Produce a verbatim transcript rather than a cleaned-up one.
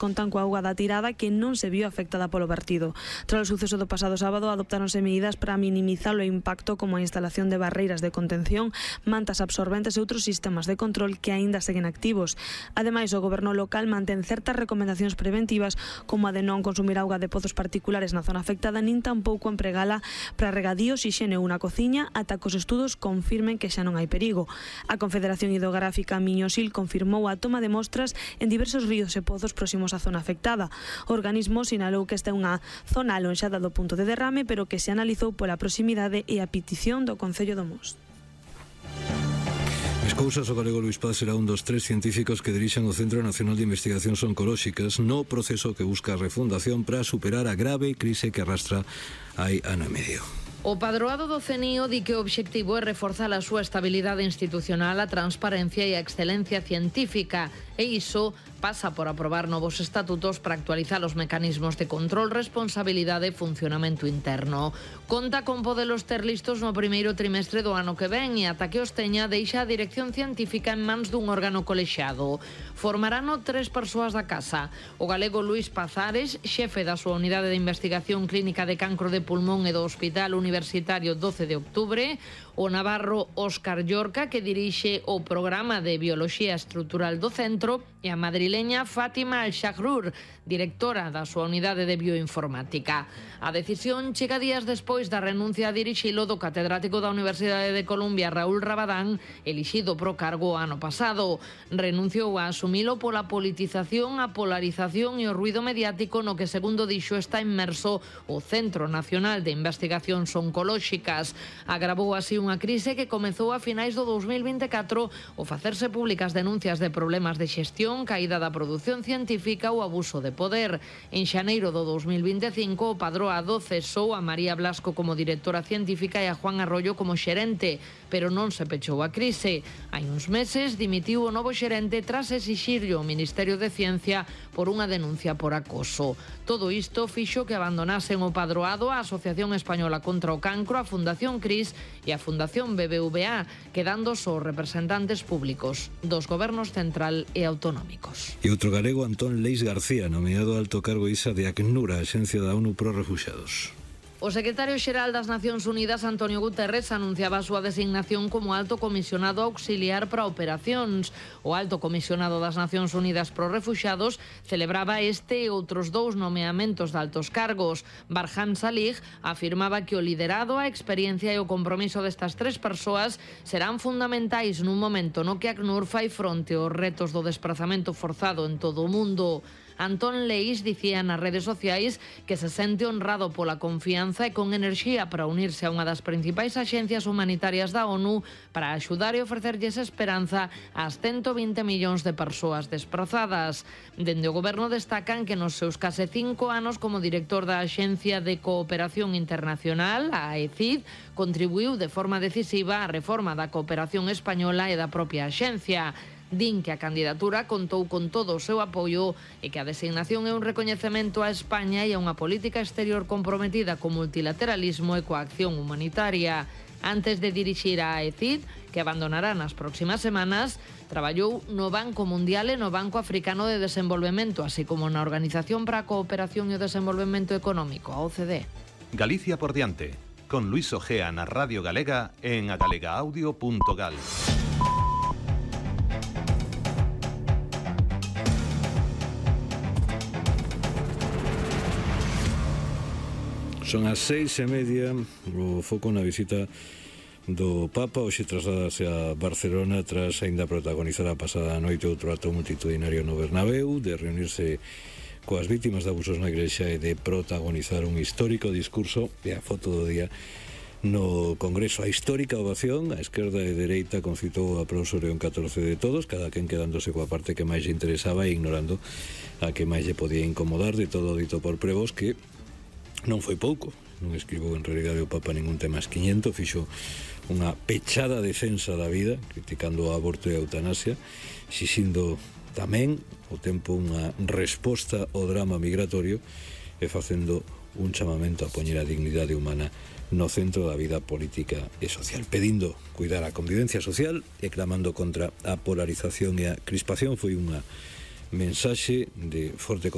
contan coa auga da tirada que non se viu afectada polo vertido. Tras o suceso do pasado sábado adoptáronse medidas para minimizar o impacto como a instalación de barreiras de contención, mantas absorbentes e outros sistemas de control que aínda seguen activos. Ademais, o goberno local mantén certas recomendacións preventivas como a de non consumir auga de pozos particulares na zona afectada nin tampouco empregala para regadíos, hixiene ou na cociña ata que os estudos confirmen que xa non hai perigo. A Confederación Hidrográfica Miñosil confirmou a toma de mostras en diversos ríos e pozos próximos á zona afectada. O organismo sinalou que esta é unha zona alonxada do punto de derrame, pero que se analizou pola proximidade e a petición do Concello do Mos. As cousas, o galego Luís Paz será un dos tres científicos que dirixan o Centro Nacional de Investigacións Oncolóxicas no proceso que busca a refundación para superar a grave crise que arrastra hai ano e medio. O padroado do C N I O di que o obxectivo é reforzar a súa estabilidade institucional, a transparencia e a excelencia científica, e iso pasa por aprobar novos estatutos para actualizar os mecanismos de control, responsabilidade e funcionamento interno. Conta con podelos ter listos no primeiro trimestre do ano que ven e ata que os teña deixa a dirección científica en mans dun órgano colexiado. Formarano tres persoas da casa. O galego Luís Pazares, xefe da súa unidade de investigación clínica de cancro de pulmón e do Hospital Universitario doce de outubro, o navarro Óscar Llorca, que dirixe o programa de Bioloxía Estrutural do centro, e a madrileña Fátima Al-Shahrur, directora da súa unidade de bioinformática. A decisión chega días despois da renuncia a dirixilo do catedrático da Universidade de Columbia, Raúl Rabadán, elixido pro cargo ano pasado. Renunciou a asumilo pola politización, a polarización e o ruido mediático no que, segundo dixo, está inmerso o Centro Nacional de Investigacións Oncolóxicas. Agravou así unha crise que comezou a finais do dous mil vinte e catro ao facerse públicas denuncias de problemas de xestión, caída da produción científica ou abuso de poder. En xaneiro do dous mil vinte e cinco, o padroado cesou a María Blasco como directora científica e a Juan Arroyo como xerente, pero non se pechou a crise. Hai uns meses dimitiu o novo xerente tras exixirlle ao Ministerio de Ciencia por unha denuncia por acoso. Todo isto fixo que abandonasen o padroado a Asociación Española contra o Cancro, a Fundación CRIS e a Fundación B B V A, quedando só representantes públicos dos gobernos central e autonómicos. E outro galego, Antón Leis García, nomeado alto cargo ISA de ACNUR, a Axencia da ONU pro Refuxiados. O secretario xeral das Nacións Unidas, Antonio Guterres, anunciaba a súa designación como alto comisionado auxiliar para operacións. O alto comisionado das Nacións Unidas pro Refuxiados celebraba este e outros dous nomeamentos de altos cargos. Barham Salih afirmaba que o liderado, a experiencia e o compromiso destas tres persoas serán fundamentais nun momento no que ACNUR fai fronte aos retos do desprazamento forzado en todo o mundo. Antón Leis dicía nas redes sociais que se sente honrado pola confianza e con enerxía para unirse a unha das principais axencias humanitarias da ONU para axudar e ofrecerlles esperanza ás ciento vinte millóns de persoas desprazadas. Dende o goberno destacan que nos seus case cinco anos como director da Axencia de Cooperación Internacional, a A E C I D, contribuiu de forma decisiva á reforma da cooperación española e da propia axencia. Din que a candidatura contou con todo o seu apoio e que a designación é un recoñecemento a España e a unha política exterior comprometida co multilateralismo e coa acción humanitaria. Antes de dirixir a A E C I D, que abandonará nas próximas semanas, traballou no Banco Mundial e no Banco Africano de Desenvolvemento, así como na Organización para a Cooperación e o Desenvolvemento Económico, a O C D E. Galicia por diante, con Luis Ojea na Radio Galega en agalegaudio punto gal. Son as seis e media, o foco na visita do Papa. Hoxe trasladase a Barcelona tras aínda protagonizar a pasada noite outro acto multitudinario no Bernabéu, de reunirse coas vítimas de abusos na Igrexa e de protagonizar un histórico discurso e a foto do día no Congreso. A histórica ovación, a esquerda e dereita concitou o aplauso León catorce de todos, cada quen quedándose coa parte que máis lle interesaba e ignorando a que máis lle podía incomodar. De todo dito por Prevos, que non foi pouco, non escribou en realidade o Papa ningún tema esquiñento, fixo unha pechada defensa da vida, criticando o aborto e a eutanasia, xixindo tamén o tempo unha resposta ao drama migratorio e facendo un chamamento a poñer a dignidade humana no centro da vida política e social, pedindo cuidar a convivencia social e clamando contra a polarización e a crispación. Foi unha mensaxe de forte